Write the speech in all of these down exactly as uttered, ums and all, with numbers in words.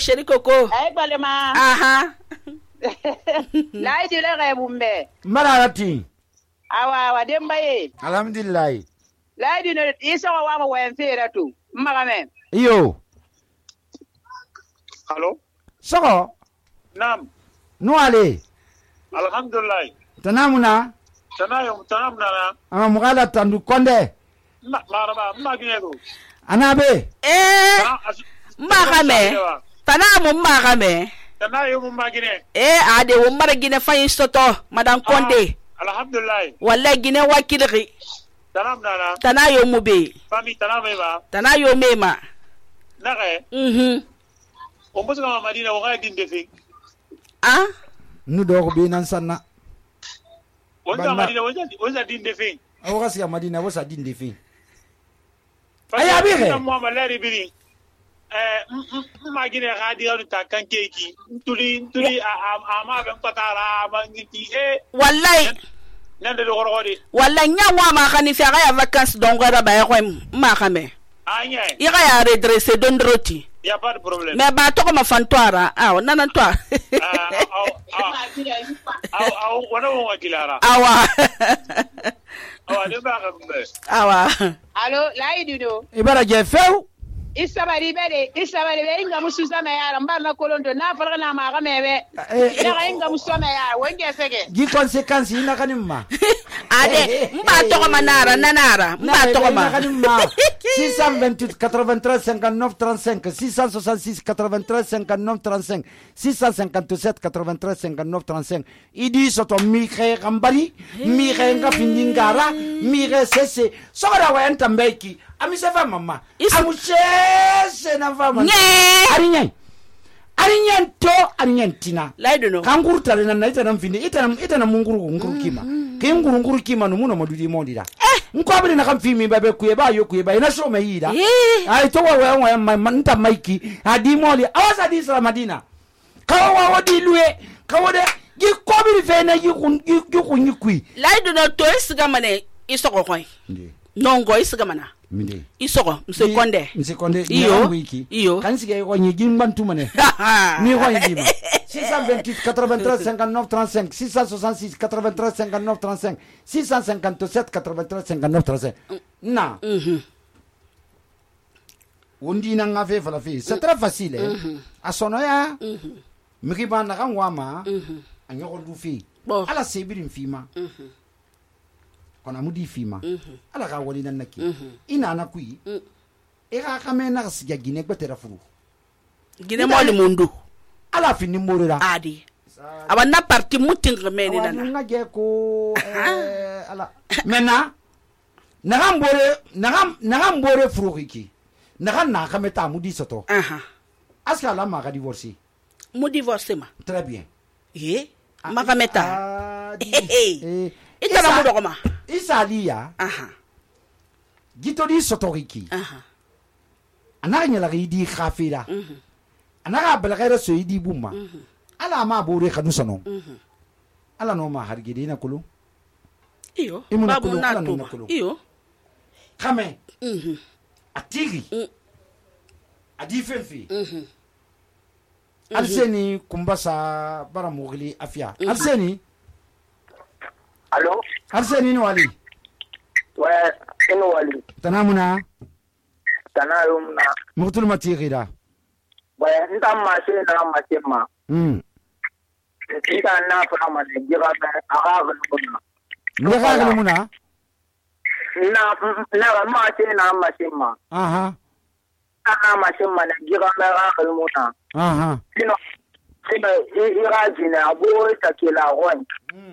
sheri koko. Ay balema. Aha. Lai dile ga bumbe. Mararati. Awa awa dembaye. Alhamdulillah. Lai dile isa wa wa wen fera tu. Magame. Iyo. Hello. Soko. Naam. Nuale. Alhamdulillah. Tanamuna. Tanayo tanamuna na. Ama mugala tandu konde. Ma maraba magine ko. Anabe. Eh. Magame. Tanamu magame. Tanayo mu magine. Eh ade wo mara gine fayin soto madan konde. Alhamdulillah. Wallahi gine wakilri. Tanamuna na. Tanayo mu be. Fami taname ba. Tanayo mema. Nare. Mhm. O musu ma Madina wo ga dinde fi. Ah? Nu do ko be nan sanna. Wonza Madina wonza wonza dinde fi. Awo ga siya Madina wo sa dinde fi. Aya bi re. Mo ma leri biri. Eh magine ga di ru ta kan keeki. Tuli tuli a ma ben patara ma ngiti eh. Wallahi. Nande do gorodi. Wallahi nyawa ma khani fi ga ya vacances dongora ba ya ko ma khame. Anya. Ira ya redresser dondroti. Y a pas de problème. Mais ba to ko ma fantoira. Ah, nana to. Ah, ah, ah, wana wonga kilara. Awa. Awa de ba gambe. Awa. Allo, lai dido. Ibara je few. Isabari bere, isabari bere inga musuza me ya mbarna kolondo na farga na ma gamebe. Ina inga musuza ya wenge sege. Gi conséquence ina kanimma. Ade, mba to ko manara nanara, mba to ko ma. six cent vingt-huit quatre-vingt-treize cinquante-neuf trente-cinq six cent soixante-six quatre-vingt-treize cinquante-neuf trente-cinq six cent cinquante-sept quatre-vingt-treize cinquante-neuf trente-cinq idi soto mi khe gambari mi khe nga findingara mi khe sese sogora wa entambeki ami sefa mama amu sese na fama ari nyai ari nyanto ari nyantina laido no kanguru tale na ita na mfindi ita na ita na munguru nguru kima ke nguru nguru kima no muno madudi mondira nko abiri na kamfimi babe kuyeba yo kuyeba ina so mayida ai to wa wa manta maiki adi moli awasa di sala Madina kawa wadi luwe kawa de gi kobiri fe na gi kun gi kun kui laido no to isiga mane isoko koy nongo isiga mana minde isoko mse konde mse konde iyo wiki iyo kansige ko nyi gimbantu mane ni ko yima six cent vingt-huit quatre-vingt-treize cinquante-neuf trente-cinq six cent soixante-six quatre-vingt-treize cinquante-neuf trente-cinq six cent cinquante-sept quatre-vingt-treize cinquante-neuf trente-cinq na mhm wondi na ngafe fala fi c'est très facile a sonoya mhm miki ba na kan wama mhm anyo du fi ala sebirin fima mhm kona mudi fima ala ka wali nan naki ina na kui e ka kamena siga gine gbetera furu gine mo le mundu ala fini morira adi aba na parti mutin remeni nana nga je ko eh ala mena na mbore na na mbore furu hiki na na kameta mudi soto aha aska la ma ka divorcer mu divorcer ma très bien eh ma kameta eh ita na mu dogoma isalia aha gito di soto hiki aha ana nyala di khafira mhm ana bala gaira so idi bumma ala ma bore kanu sono ala no ma hargide na kulu iyo babu na to iyo kame mhm atigi adi fenfi mhm alseni kumbasa bara mugli afia alseni allo alseni no wali wa ino wali tanamuna tanayumna mutul matigira baya nta mashe na mashe ma mm ita na fara ma ne gira na aga gulmuna ne ga gulmuna na na mashe na mashe ma aha ana mashe ma ne gira na aga gulmuna aha sino sino ira jina abo ta kila wan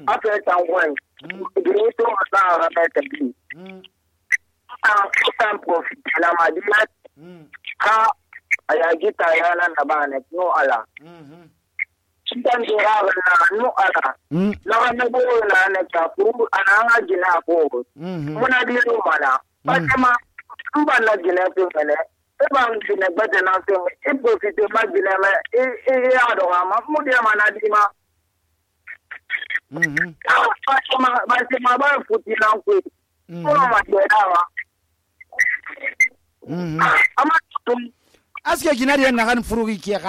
afa ta wan directo ata ga ta bi ah ta profit la madina ka aya gita yana na bana no ala mhm sitan dira na no ala na na bo na na ta fu ana gina ko muna di ro mala patama mba na gina to mele e ba gina bade na to e profite ma gina me e e ya do ma mu dia mana di ma mhm patama ba se ma ba futi na ko ko ma de dawa mhm ama aske ginari na kan furugi ki